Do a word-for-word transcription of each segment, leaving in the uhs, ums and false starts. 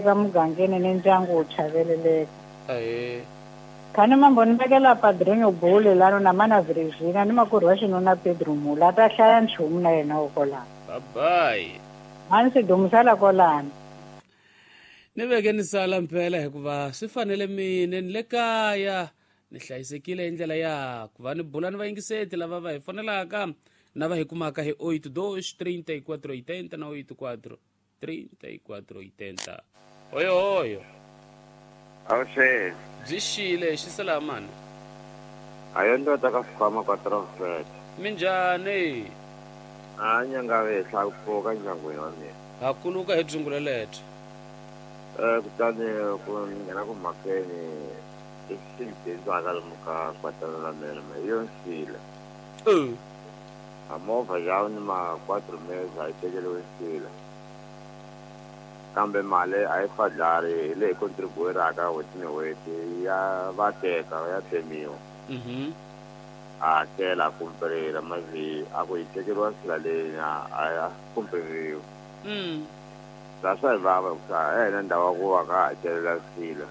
Eka mugangeni ni ndyangu wu chaveleleka. Ahee. Khani mambo ni vekela Padrinho Bule lano na mana Virginia ni makwerhu wa xinuna Pedro Mula ta hlaya nchumu na yena wo kwalano. Bye bye. Mani swi dumisela kwalano. Ni veke ni sala mpela hikuva swi fanele mine ni le kaya ni hlayisekile hi ndlela ya ku va ni bula ni vayingiseti lava va hi fonelaka na va hi kumaka hi oito dois trinta e quatro oitenta na oito quatro trinta e quatro oitenta. Oyo oyo. Awuxe. Byi xile xisalamani. Ayo ndoda ka fikwama kwa Transfert. Minjhani? A nyanga vehla ku pfuka ndyangwini wa mina. Ha kuluka hi dzungula lethu. Eh kutani ku nghena ku mhakeni lexi bindzaka lomu ka kwatana la mina me yo nsila. Eh. A movha ya ni ma quatro meses a yi tekeriwe nsila. Kambe mali a yi fadlari hi leyi contribueraka n'hweti ni n'hweti ya va teka ya tsemiwa. Mhm. A hakela a kumperela mazi a ku yi tekeriwa nsila leyi a ya kumperiwa. Mm. La swa hi vava hikuva a hi na ndhawu ya ku va ka hakelela nsila.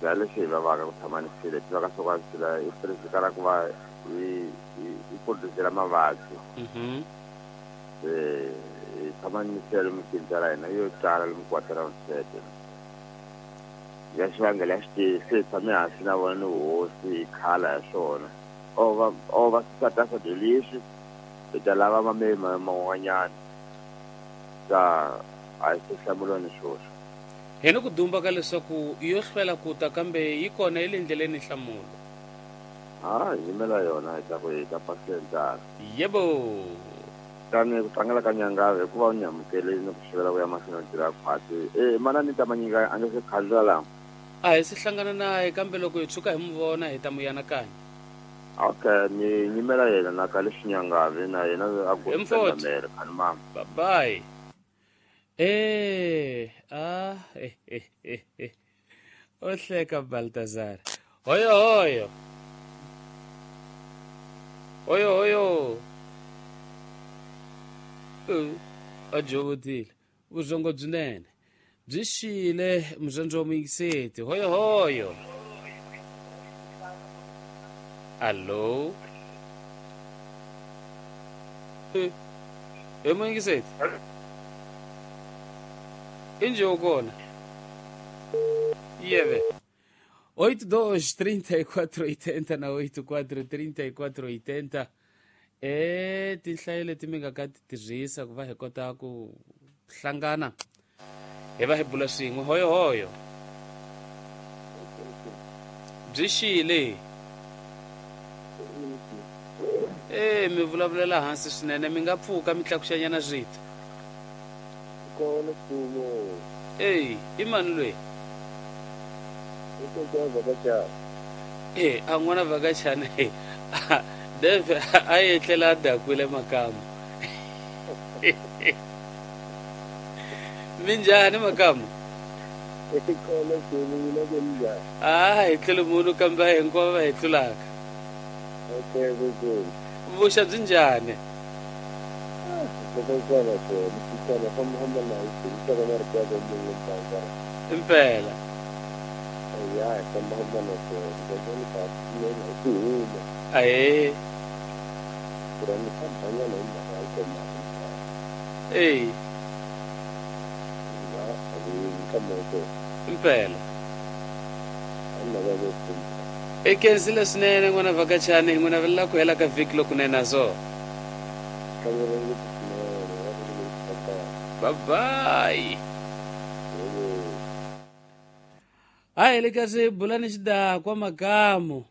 La lexi hi vavaka ku tshama ni nsila tivaka swa ku nsila i tirhisekala ku va yi yi produce-la mavabyi. Mhm. Se hi tshama ni nsila lomu bindzu ra hina yo tala lomu kwatara nsete. Ya xivangelo ya xitivi se hi tshame hansi na vona ni hosi hi khala hi swona. O va o va susa swakudya leswi hi ta lava mamemi man'wanyana. Ta a hi se hlamuriwa ni swoswo. Hi ni ku dumba ka leswaku yo hlwela ku ta kambe yi kona yi le ndleleni nhlamulo. Ha hi yimela yona hi ta ku hi ta pasela. Yebo. Tani ku tlangela ka nyangave hikuva u ni amukele ni ku xivela ku ya mahlweni u tirha khwatsi. Eh mana ni ta manyika a nge se khandla la. A hi se hlangana naye kambe loko hi tshuka hi mu vona hi ta mu yanakanya. Okay, ni yimela yena na ka leswi nyangave na yena a ku mere khani mama. Bye bye. Eh, ah, eh, eh, eh, eh. O hleka Baltazar. Hoyo hoyo. Hoyo hoyo. Uh, a jovotile. Vuzongo byinene. Byi xile muzondzo wa muyingiseti. Hoyo hoyo. Allo. Eh, eh muyingiseti. Inje ukona. Yeve. oito dois trinta e quatro oitenta na oito quatro trinta e quatro oitenta. E tinhlayo leti mi nga ka ti tirhisa ku va hi kota ku hlangana hi va hi bula swin'we. Hoyo hoyo. Byi xile. E mi vulavulela hansi swinene mi nga pfuka mi tlakuxanyana rito. Kona mfumo. Ey, i mani loyi? Eh, a n'wana vhakachana Dave a etlela a dakwile makamu. Minjhani makamu? Kona mfumo mina ke njhani? Ah, hi tlule munhu kambe a hinkwavo va hi tlulaka. Okay, okay. Vuxa byi njhani? Impela. Ahe. Ey. Impela. I khensile swinene n'wana vhakachani hi n'wi navelela ku hela ka vhiki lokunene na so. Bye bye. Hayi le kasi bulani xidakwa makamu.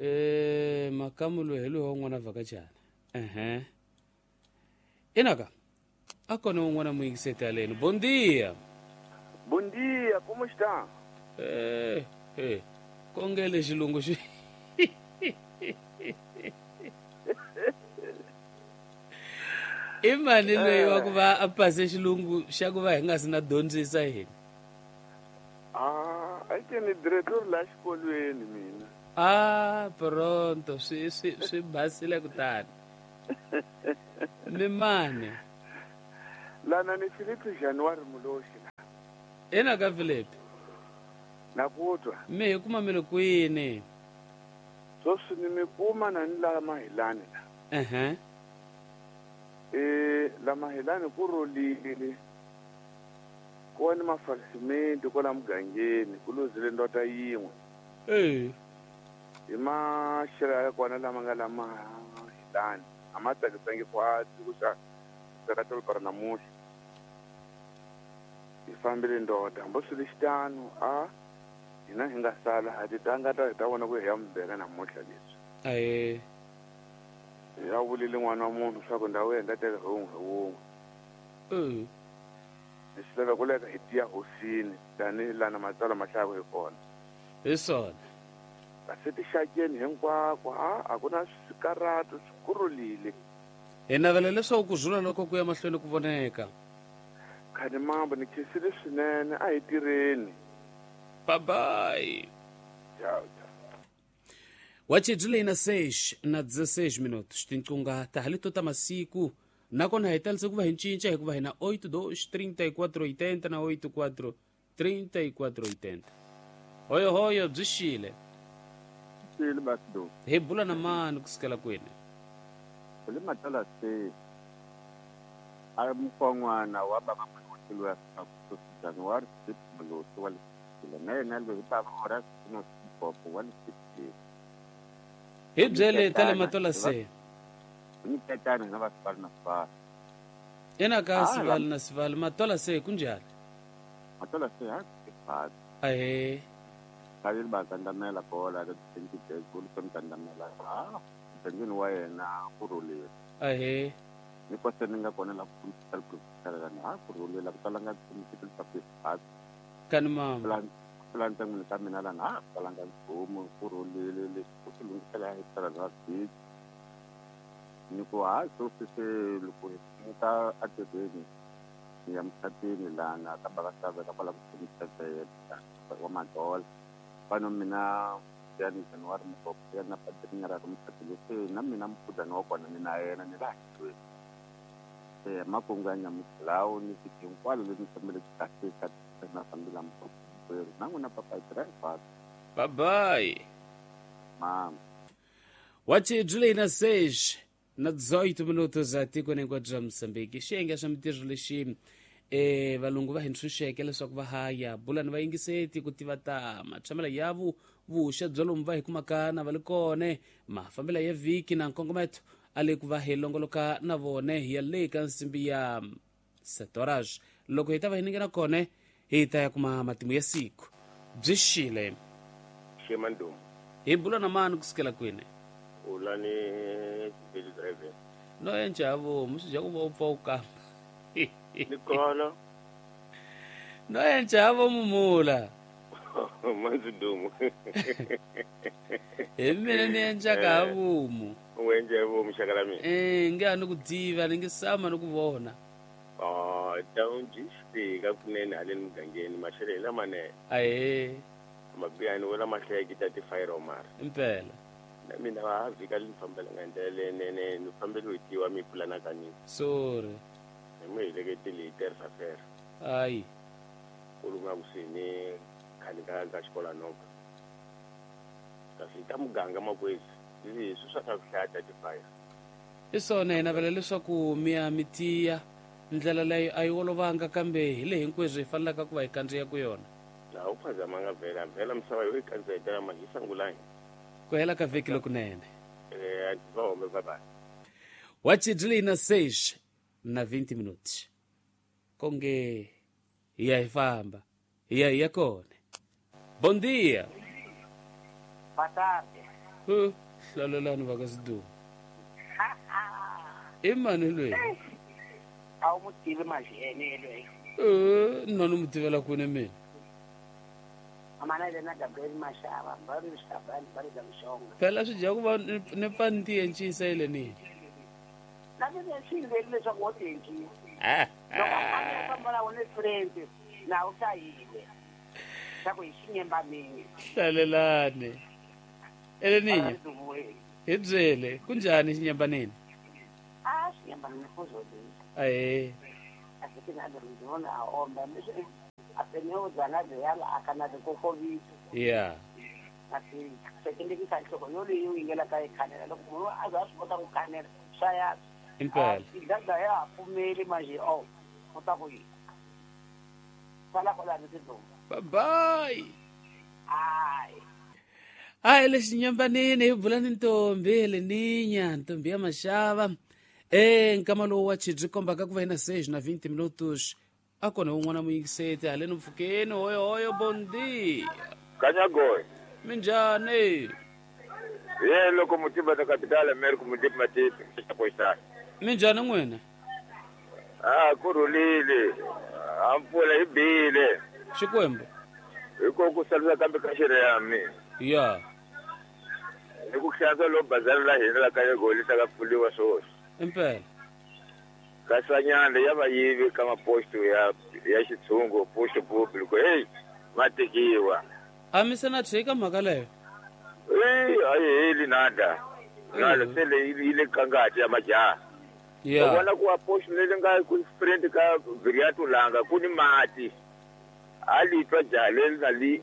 Eh makamu loyi hi loyi wa n'wana vhakachana. Ehe. Inaka. A kona un'wana muyingiseti aleni. Bom dia. Bom dia, como está? Eh, eh. Kongele xilungu xi. I mani loyi wa ku va a pase xilungu xa ku va hi nga si na dyondzisa hina? Ah, a ke ni diretor la xikolweni mina. Ah, pronto, swi swi swi basile kutani. Mi mani? Lana ni Philippe January Muloshi. Ena ka Philip. Na ku twa. Mi hi kuma mi le kwini? Sweswi ni mi kuma na ni la Mahilani la. Ehe. Eh la Mahilani ku rolile. Ku wa ni mafalisimenti kwala mugangeni ku luzile ndota yin'we. Eh. Hi maxelo ya kona lama nga la Mahilani a ma tsakisangi kwatsi ku xa ka tolo namuntlha. Hi fambile ndoda hambi swi ri xitano a hina hi nga sala a ti tanga ta hi ta vona ku hi ya mubeka namuntlha leswi. Ahe. Ya vulile n'wana wa munhu swa ku ndhawu ya teka hi wun'we hi wun'we. Eh. Hi swi lava ku leka hi tiya hosini tanihi lana matsalwa ma hlayaka hi kona. Hi swona. Kasi tixakeni hinkwako a a ku na swikarhato swi kurulile. Hi navela leswaku ku rhula loko ku ya mahlweni ku voneka. Khani mambo ni khensile swinene a hi tirheni. Bye bye. Ciao, ciao. Wachidlile na seis na dezesseis minutos. Tinqunga ta halito ta masiku. Nakona hi talise ku va hi cinca hikuva hi na oito dois trinta e quatro oitenta na oito quatro trinta e quatro oitenta. Hoyo hoyo byi xile. Xile basido. Hi bula na mani kusukela kwini? Kule matala se. A mkonwana wa baba mkhulu wa January six wa na yena loyi baba ora no popo wa six. Hi byele tale matola se. Ni tetana na vasipala na sivali. Ena ka sivali na sivali matola se kunjani? Matola se ha sivali. Ahe. Kavili ba kandamela bola ka twenty days ku kandamela. Ah, tengini wa yena ku rhulile. Ahe. Ni kwase ni nga kona la ku ku na ha ku rhulile ku talanga ku ku Kani mama. Plan plan tanguni ka mina lana ha talanga nchumu ku rhulile leswi ku swi lunghisela hi tala ra vhiki. Ni ku ha sweswi se loko hi muka atirhweni ni ya mucatwini lana ka baka ka kwala ku wa madola. Fano mina ya ni January mukoko ya na padrinha ra mucatwini se na mina mukhuhlwana wa kona ni na yena ni laha xikwembu. Se makungu ya nyamutlhawu ni fiki hinkwalo leswi ni fambele kahle ka na fambela mukoko na n'wina papa hi driver. Bye bye. Mama. Wachidlile na seis na dezoito minutos a tikweni hinkwabyo bya Mozambique. Xiyenge xa mintirho lexi eh valungu va hi ntshunxeke leswaku va haya bula ni vayingiseti ku tiva ta matshamelo ya vu vuxa bya lomu va hi kumaka na va le kone mafambelo ya vhiki na nkongometo a le ku va hi longoloka na vone hi ya le ka nsimbi ya sete horas. Loko hi ta va hi ningena kone hi ta ya kuma matimu ya siku. Byi xile. Xemandum. Hi bula na mani kusukela kwini? Ulani Billy driver. No enjavo, musija ku va u pfa u kamba. Ni kona. No enjavo mumula. Manzudumu. Hi mina ni enjaka vomu. U enje vomu xaka la mina. Eh, nge a ni ku tiva, ni nge sama ni ku vona. Ah, down fika kunene haleni mugangeni maxelo hi lamanene. Ahee. Mabiyani wo lama hlayeke ta ti-fire mara. Impela. Na mina va vhika li ni fambelanga hi ndlela leyinene ni fambele hi tiwa mi pulana ka nini. Sorry. Hi mi heleketile hi tersa fera. Ayi. Ku lunga kusuhi ni khale ka ka xikola noka. Kasi ta muganga makwezi leswi swa ka ku hlaya ta ti-fire. Hi swona hi navela leswaku mi ya mi tiya ndlela leyi a yi olovanga kambe hi le hinkweswo hi fanelaka ku va hi kandziya ku yona. Laha u phazamanga vhela vhela misava yo yi kandziyetela ma hi sangulangi. Ku hela ka vhiki lokunene. Eh, va home bye bye. Wachidlile na seis na vinte minutos. Konge hi ya hi famba. Hi ya hi ya kona. Bom dia. Boa tarde. Uh, hlalelani va ka Sidumo. I mani loyi? A wu mu tivi Mazhene loyi. Eh, nna ni mu tivela kwini mina? Amana yena Gabriel Mashava, va ri Shabani, va ri Mshonga. Phela swi dya ku va ni pfa ni ti encisa ile ni. Na mina swi ndzi leswaku wo ti encisa. Loko a ni famba na wona friend na u hlayile. Swa ku hi xinyembanini. Hlalelani. Eleninya. Hi byele, kunjhani xinyembanini? A xinyembanini ku zolile. Ahee. A swi na ndzi vona a omba. Ateneo zana de yala akana de kokovi. Yeah. Asi sekende ki sancho ko yoli yu ingela ka kanela loko munhu a za swi kota ku kanela swa ya. Impela. Idada ya pfumeli manje oh kota ku yi. Sala kola ni sido. Bye bye. Ai. Ai lexi nyambanini hi bula ni ntombi leninya ntombi ya maxava. Eh nkama lowu wa chidzi kombaka ku va hina seis na vinte minutos. Akona un'wana muyingiseti haleni mpfhukeni hoyo hoyo bom dia. Kanyagoy. Minjhani? Ye loko mutimba ta capital America mutimba matipi xakoisa. Minjhani n'wina? Ah kurhulile. A mpfula yi bile. Xikwembu. Hiko ku salisa kambe ka xiriyami. Ya. Ni ku hlantswa lo bazari la hina la Kanyagoy li ta pfuliwa swoswi. Impela. Kasanyana ya vayivi ka maposto ya ya xitshungu posto público hey va tekiwa. A mi se na tshika mhaka leyo? Eh a yi heli nada. Ngalo se leyi yi le ka ngati ya majaha. Yeah. U vona ku a posto leyi nga ku sprint ka Viriato Langa ku ni mati. A li twa jaha leri na li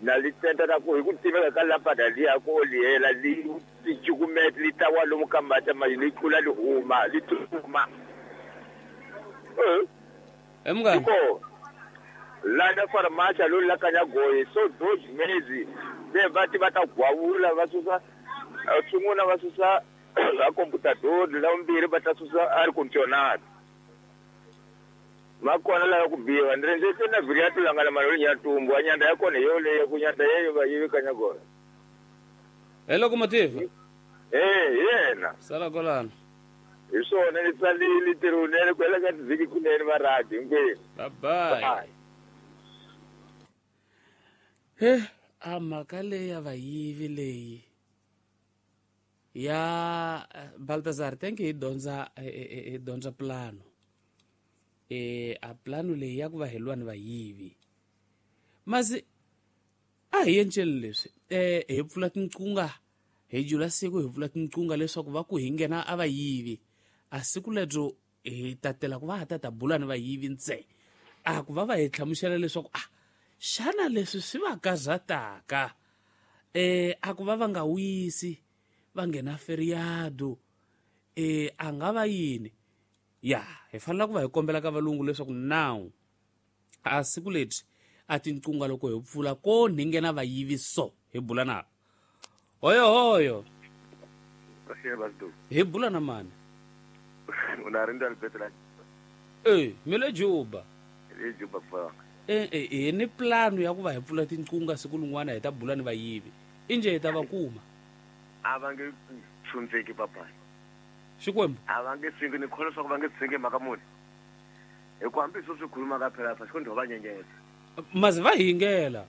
na li tenta ta ku hi ku tiveka ka lampada liya ku olihela li ti cukumeta li ta walomu ka mati ma li tlula li huma li tsutsuma. Eh mngani. Ko lana farmacia lo la Kanyagoy so dois meses de va ti va ta gwawula va susa swin'wana va susa a computador la vumbirhi va ta susa air conditioner. Ma kona la ku biwa ndzi ndzi na Viriato Langa na maloli ya tumbu anyanda ya kona yoleyo ku nyanda yeyo va yivi Kanyagoy. Hello locomotive. Eh yena. Sala kolana. Hi swona ni tsalile tirhunene ku hela ka tivhiki kunene va radi hinkwenu. Bye bye. He a mhaka leyi ya vayivi leyi ya Baltazar thank you hi dyondza hi dyondza plano. Eh a plano leyi ya ku va hi lwa ni vayivi. Masi a hi enceli leswi eh hi pfula tinqunga hi jula siku hi pfula tinqunga leswaku va ku hi nghena a vayivi. A siku lebyo hi tatela ku va ha ta ta bula ni vayivi ntse. A ku va va hi hlamusela leswaku ah xana leswi swi va karhataka eh a ku va va nga wisi va nghena feriado eh a nga va yini. Ya hi fanele ku va hi kombela ka valungu leswaku now a siku lebyi a tinqunga loko hi pfula ko ni nghena vayivi so hi bula na hoyo hoyo hi bula na mani. Unarinda Alberto la eh mi le Juba le Juba fa eh eh ni plano ya ku va hi pfula tinqunga siku lin'wana hi ta bula ni vayivi inje hi ta va kuma. A va nge tshundzeki papa. Xikwembu a va nge tshungi ni kholwa leswaku va nge tshungi mhaka muni hi ku hambi sweswi khuluma ka phela fa xikwembu va nyenyetsa mazi va hingela.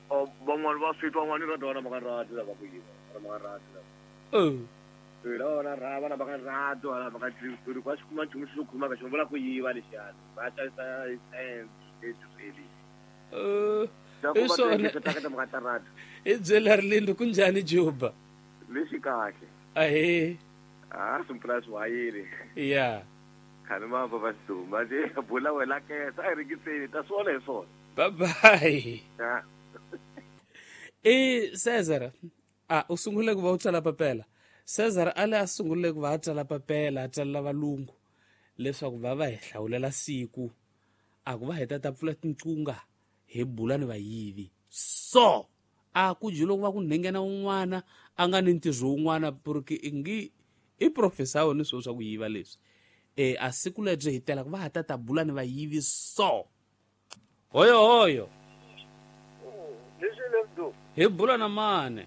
O van'wana va swi twa van'wana va dona mhaka radi lava ku yiva mhaka radi lava eh lava na rava na mhaka radi wala mhaka tshuri kwa xikuma nchumu xo khuluma ka xona vula ku yiva lexiyana va xavisa eh eh i swona mhaka ta radi i byela Rilindo ku njhani Juba lexi kahle ahe ah simplas wayile ya khani ma va va duma je bula wena ke sa ringiseni ta swona hi swona. Bye bye. Ya e Cesar a u sungule ku va u tsala papela. Cesar a le a sungule ku va a tsala papela a tsalela valungu leswaku va va hi hlawulela siku a ku va hi ta ta pfula tinqunga hi bula ni vayivi so a ku jilo ku va ku nghena un'wana a nga ni ntirho wun'wana porque ingi i professor ni swilo swa ku yiva leswi eh a siku lebyi hi tela ku va ha ta ta bula ni vayivi so hoyo hoyo leswi lebyo hi bula na mani.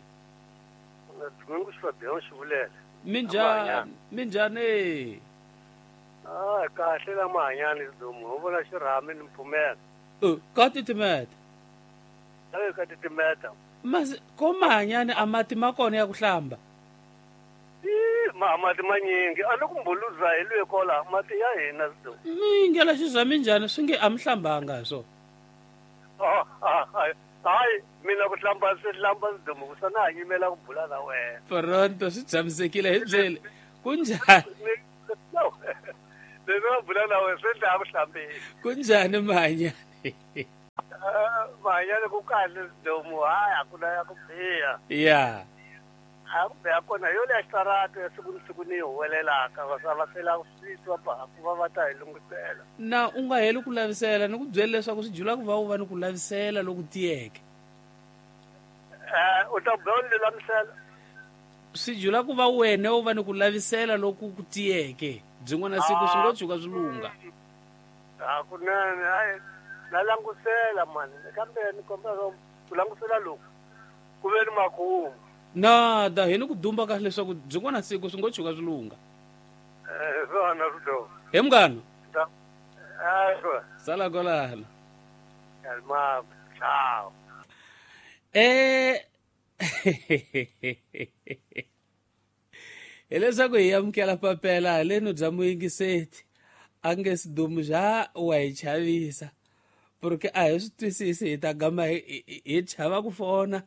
Ngungu Fabian Xivulela. Minjhani minjhani? Ah kahle la mahanyani domu ho vona xirhami ni mpfumela. Eh ka titimeta. Eh ka titimeta. Mas ko mahanyani a mati ma kona ya ku hlamba. I ma mati manyingi a loko mbuluza hi lwe kola mati ya hina do. Mingela xirhami njhani swi nge a mi hlambanga so. Ah hayi mina ku hlamba swi hlamba domu ku sana yimela ku bula na wena. Pronto swi tshamisekile hi byele. Kunjhani? Lero bula na wena swi dlaya ku hlambeni. Kunjhani mahanyani? Mahanyelo ku kahle Sidumo, hayi a ku na ya ku biha. Ya. A ku biha kona yo leya xitarata ya siku ni siku ni yi huwelelaka va va sela swi twa ba ku va va ta hi lunghisela. Na u nga heli ku lavisela ni ku byela leswaku swi jula ku va u va ni ku lavisela loku tiyeke. Eh u ta byela lulamisela. Swi jula ku va wena u va ni ku lavisela loku ku tiyeke. Byin'wana siku swi ngo tshuka swi lungha. A kunene hayi na langusela mani kambe ni kombela ku langusela loku ku ve ni makumu. Na da hi ni ku dumba kahle leswaku byin'wana siku swi ngo tshuka swi lungha. Eh swona swi He munghana. Eh sala kwalano. Kalma ciao. Eh hileswaku hi amukela papela haleno bya muyingiseti a nge Sidumo xa wa hi chavisa porque a hi swi twisisi hi ta gama hi chava ku fona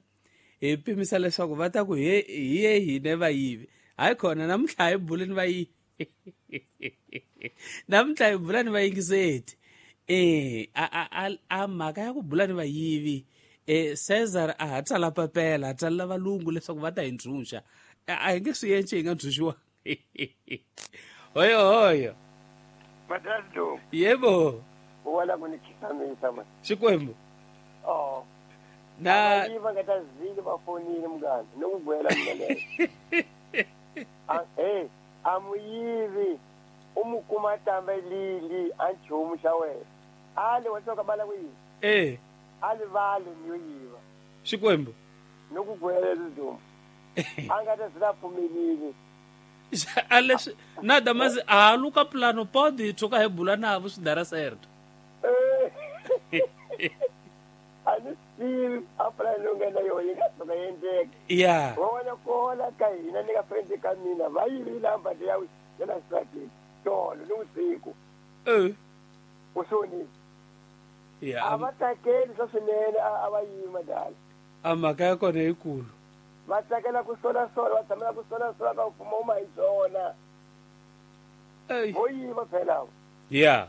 hi pimisa leswaku va ta ku hi ye hine vayivi. Hayi khona namuntlha hi bula ni vayivi. Namuntlha hi bula ni vayingiseti. Eh a a a mhaka ya ku bula ni vayivi eh Cesar a ha tsala papela a tsalela valungu leswaku va ta hi ntshunxa. A hi nge swi endli hi nga ntshunxiwa. Hoyo hoyo. Madazdo. Yebo. Wala ku ni khisamisa man. Xikwembu. Oh. Na yiva nga ta zile va fonile mngani no ku gwela mina leyo. A eh amuyivi umukuma tamba lili a nchumu xa wena. Ale wa tsoka bala ku yiva. Eh. Ale vale ni yiva. Xikwembu. No ku gwela Sidumo. A nga ta zila pfumelile. Ale nada mas a luka plano pode tshuka hi bula navo swi dara certo. A ni swi a plano nga na yona yi nga tshuka endleka. Yeah. Wa wena kola ka hina ni ka friend ka mina va yivile ambadi ya ya la stratini tolo ni usiku. Eh. U soni. Yeah. A va tsakeli swa swinene a va yima dala. A mhaka ya kona yikulu. Va tsakela ku sola sola va tshamela ku sola sola ka mfumo uma hi swona. Vo yiva phela. Yeah.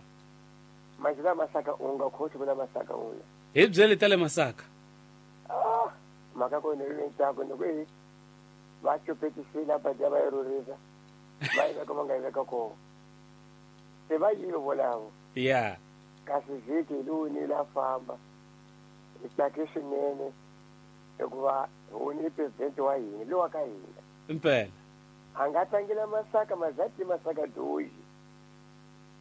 Manje Masaka u nga khothi vula Masaka uya. Hi byele ta le Masaka. Ah, mhaka kona yi ntsako ni ku va chupetisile va dya va yi rhurhisa. Va yi veka va nga yi veka kona. Se va yive volavo. Yeah. Kasi vhiki lowu ni la famba. Hi tsake swinene hikuva huni president wa hina lowa ka hina. Impela. A nga tlangela Masaka mazati Masaka doji.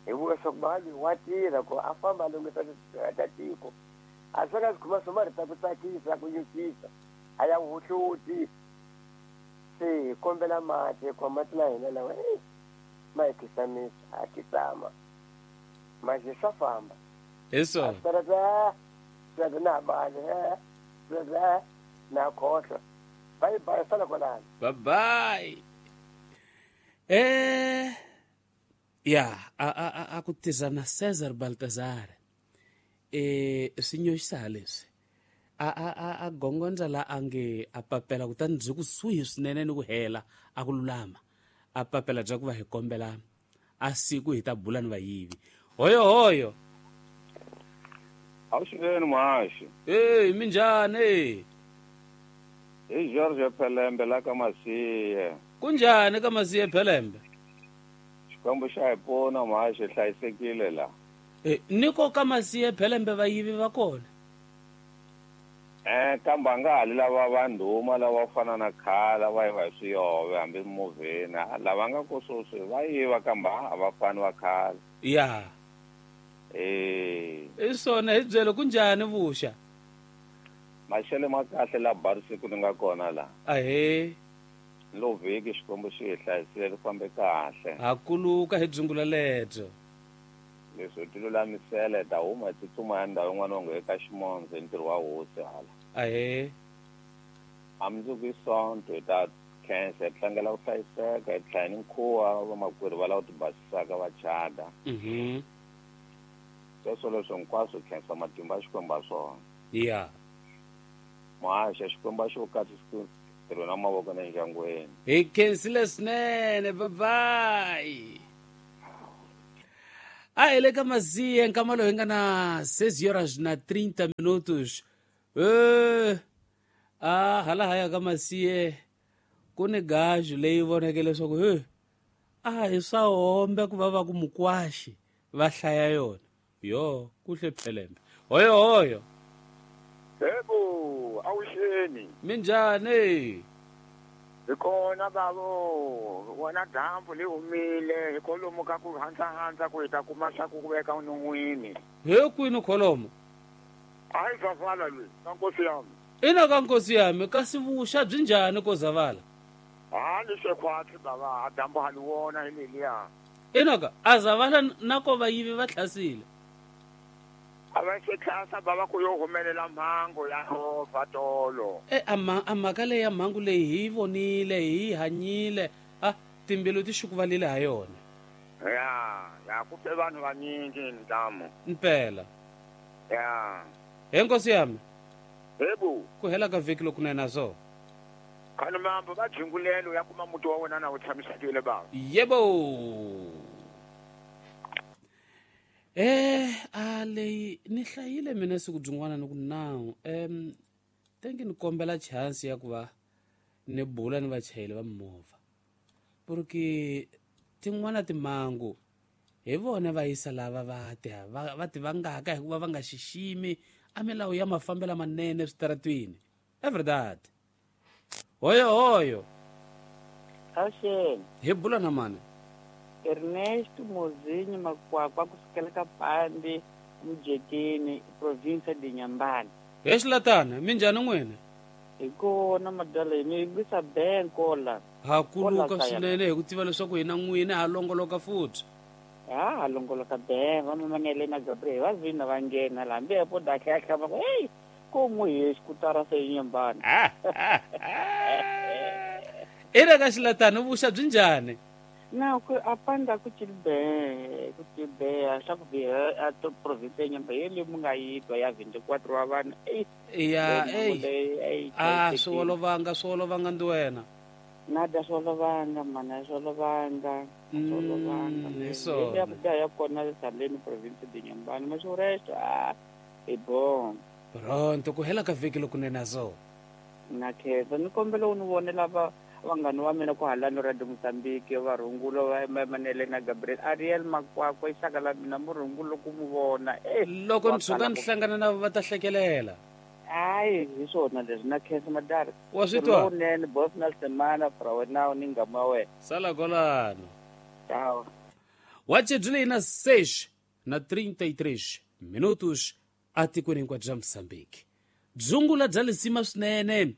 Hi vuka swa ku mali wa tirha ku a famba a lunghisa ta tiko. A swi nga swi khoma swo marito ku tsakisa ku nyukisa a ya huhluti. Se hi kombela mati hikuva mati na hina lawa ma hi khisamisa ha khisama. Manje swa famba. Hi swona. A swi na bali na khohlwa. Bye bye sala kwalano. Bye bye. Eh ya a a a ku tiza na Cesar Baltazar. Eh swi nyoxisa leswi. A a a a gongondza la ange a papela kutani byi kusuhi swinene ni ku hela a ku lulama. A papela bya ku va hi kombela a siku hi ta bula ni vayivi. Hoyo hoyo. Awuxiveni muhaxi. Eh minjhani? Hi George Phelembe la ka Masiye. Kunjhani ka Masiye Phelembe? Xikwembu xa hi pfuna muhaxi hlayisekile la. Eh niko ka Masiye Phelembe vayivi va kona? Eh kambe a nga hali lava vandhuma lava fana na khale va yiva hi swiyove hambi movheni lava nga ko sweswi va yiva kambe a va fani va khale. Ya. Eh. I swona hi byele kunjhani vuxa? Maxelo ma kahle la Barisiku ni nga kona la. Ahee. Lo vhiki Xikwembu xi hi hlayisile ri fambe kahle. Ha kuluka hi dzungula lebyo. Leswi ti lulamisela hi ta huma hi tsutsuma ya ndhawu yin'wana onge eka Ximondzo hi ntirho wa hosi hala. Ahee. A mundzuku i Sonto hi ta khensa hi tlangela ku hlayiseka hi tlhela ni nkhuva vamakwerhu va lava ku tibasisaka va chada. Mhm. Sweswo leswo hinkwaswo hi khensa matimba ya Xikwembu ha swona. Ya. Muhaxa Xikwembu a xi ku katsisi ntirho na mavoko na endyangwini. Hi khensile swinene bye bye. A hi le ka Masiye nkama lowu hi nga na seis horas na trinta minutos. Eh a hala haya ka masiye ku ni gaju leyi voneke leswaku he a hi swa hombe ku va va ku mukwaxi va hlaya yona yo kuhle phelembe hoyo hoyo yebo awusheni minjhani hi kona bavo wena dyambu li humile hi kolomo ka ku handza-handza ku hi ta kuma swa ku veka non'wini he kwini kholomo a hi zavala lweyi ka nkosi yami ina ka nkosi yami kasi vuxa byi njhani ko zavala ha ni swekhwatsi bava a dyambu ha li wona hi leliya ina ka a zavala na ko vayivi va tlhasile a va se tlhasa bava ku yo humelela mhangu ya movha tolo e a a mhaka leyi ya mhangu leyi hi yi vonile hi yi hanyile a timbilu ti xukuvalile ha yona ya ya ku fe vanhu vanyingi ntamu mpela ya he nkosi yami yebo ku hela ka vhiki lokunene so khani mambo va jingulelo ya kuma muti wa wena na wu tshamisekile bava yebo eh a leyi ni hlayile mina siku byin'wana ni ku nawu em tengi ni kombela chance ya ku va ni bula ni vachayeri va mimovha porque tin'wana timhangu hi vona va yisa lava va ti va va ti vangaka hikuva va nga xiximi a milawu ya mafambelo manene eswitaratwini every that hoyo hoyo Awuxeni hi bula na mani Ernesto Mozinho Makwakwa kusukela ka Pandi Mujekeni province de Nyambani he xilatana minjhani n'wina hi kona madala mi yingisa benko la ha kuluka swinene hi ku tiva leswaku hina n'wina ha longoloka futhi ha ha longoloka ben va mamanele na Gabriel va vina va nghena la hambi po dakhekha va ku hey ko mu hi xikutara se Nyambani ina ka xilatana vuxa byi njhani na ku apanda ku chilbe ku chilbe a swa ku biha a to province Nyamba yele mu nga yi twa ya twenty-four wa vanhu eh ya eh a swi olovanga swi olovanga ndi wena na da swi olovanga mana swi olovanga swi olovanga so ya ku ya kona saleni province de Nyambani ma swi resto a e bon pronto ku hela ka vhiki lokunene so na khetsa ni kombela u ni vonela va vanghani wa mina ku halani Radio Mozambique va rhungulo va Manele na Gabriel Ariel Makwakwa i xaka la mina murhungulo ku mu vona eh loko ni tshuka ni hlangana na va ta hlekelela hayi hi swona leswi na khensa madala wa swi twa unene boss Nelson Mana fra wena ni ngama wa wena sala kolano ciao wachedule na seis na trinta e três minutos atikweni hinkwabyo bya Mozambique dzungula bya lisima swinene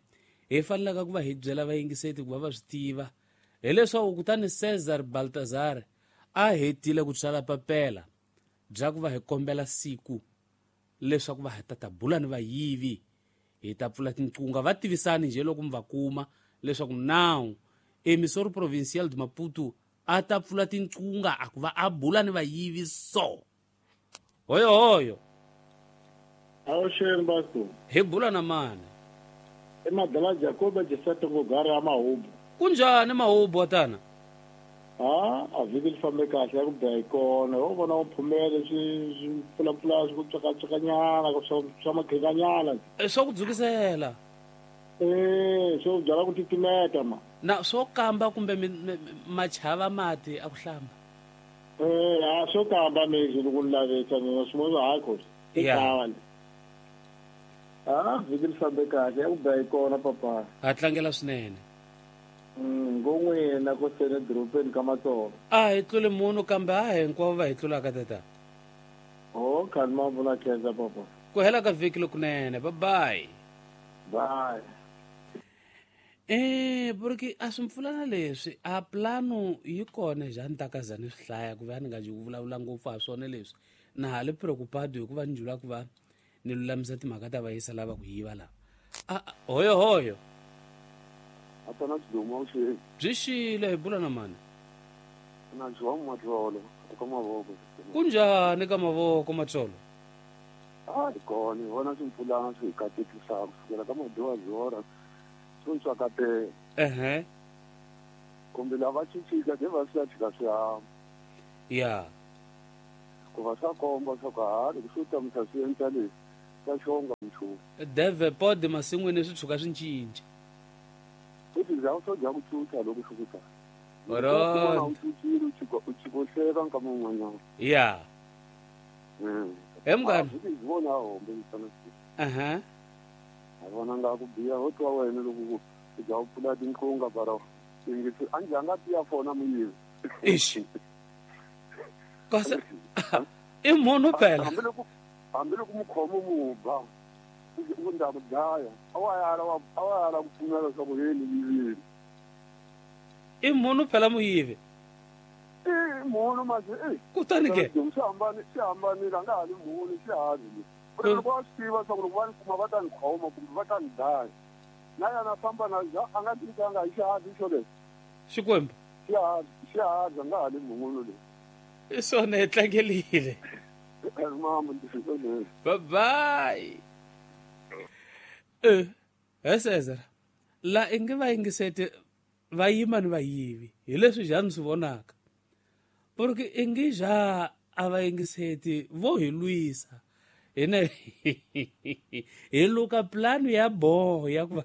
hi fanelaka ku va hi byela vayingiseti ku va va swi tiva hileswaku kutani Cesar Baltazar a hetile ku tsala papela bya ku va hi kombela siku leswaku va ta ta bula ni vayivi hi ta pfula tinqunga va tivisani njhe loko mi va kuma leswaku nawu emissor provincial de Maputo a ta pfula tinqunga a ku va a bula ni vayivi so hoyo hoyo Awuxeni basto hi bula na mani i madala Jacob Jesato Ngogara ya Mahubu kunjhani Mahubu watana ha a vhiki li fambe kahle ya ku biha hi kona ho vona u phumele swi swi pfulapfula swi ku tswakatswakanyana swa swa makhekanyana swa ku dzukisela eh swo byala ku titimeta ma na swo kamba kumbe machava mati a ku hlamba eh a swo kamba mexi loko ni lavisa mina swin'wana hayi khosi i khale ah vhiki li fambe kahle ya ku biha hi kona papa ha tlangela swinene mm ngon'wina ko sene dorobeni ka Matsonga a hi tlule munhu kambe a hinkwavo va hi tlulaka tata oh khani ma vula khensa papa ku hela ka vhiki lokunene bye bye bye eh porque a swi mpfulana leswi a plano yi kona njhani ta kaza ni swi hlaya ku va ni nga ji ku vulavula ngopfu ha swona leswi na ha le preocupado hikuva ni jula ku va ni lulamisa timhaka ta vayisa lava ku yiva laha a hoyo hoyo atana xidumo xi byi xile hi bula na mani na João Matsolo ka mavoko kunjhani ka mavoko Matsolo a hi kona hi vona swimpfulana swi hi katekisaka kusukela ka madyuwazora swo tswakatela ehe kumbe lava cincika ke va swi ya tshika swi hamba ya ku va swa komba swa ku ha loko swo tamisa swi endla leswi swa xonga nchumu. Devepod masin'wini swi tshuka swi cinca. Futhi za u dya ku cuca loko swi ku ta. Oro. U cucile u chiko u chiko hleka nkama wun'wanyana. Ya. Mm. He munghana. Futhi ndzi vona hombe mfana. Aha. A vona nga ku biha ho twa wena loko ku u dya u pfula tinqunga bara. Ngithi anje anga tiya fona muyivi. Ish. Kasi i munhu phela. Hambiloko hambiloko mukhomo mu ba. U ndza ku dlaya. A wa yala wa a wa yala ku pfumela leswaku yini yivile. I munhu phela muyivi. I munhu manje eh. Kutani ke. Swi hambani swi hambanile a nga ha li munhu swi havi. Loko va swi tiva leswaku loko va ni kuma va ta ni khoma kumbe va ta ni dlaya. Na yena famba na a nga tinkanga hi xihavi xo lexi. Xikwembu. Xihavi xihavi a nga ha li munhu leyi. I swona hi tlangelile. Mama ndzi swona. Bye bye. Eh, he Cesar. La inge va yingisete va yima ni vayivi hi leswi njhani swi vonaka. Porque inge ja a va yingiseti vo hi lwisa. Hina hi luka plan ya boho ya ku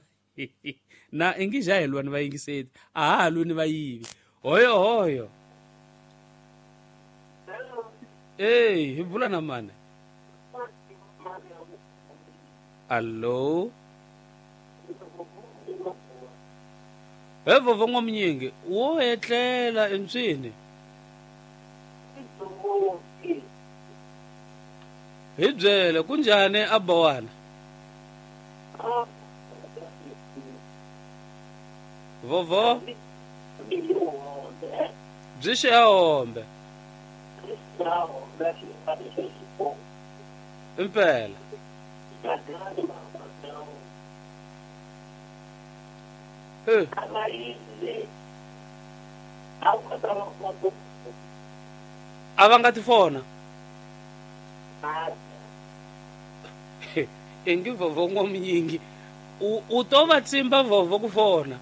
na inge ja hi lwa ni va yingiseti a ha ha lwi ni vayivi. Hoyo hoyo. Ey, hi bula na mani? Allo. He vovo n'wamunyingi wo etlela entswini. Hi byele kunjhani a Bowana? Vovo byi xihombe. Impela. Eh. A va nga ti fona. Ingi vovo n'wamunyingi u u to va tsimba vovo ku fona.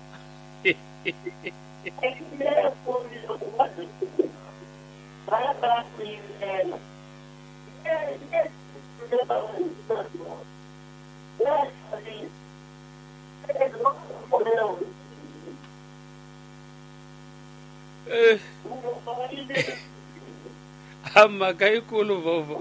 Eh. A mhaka yikulu vovo.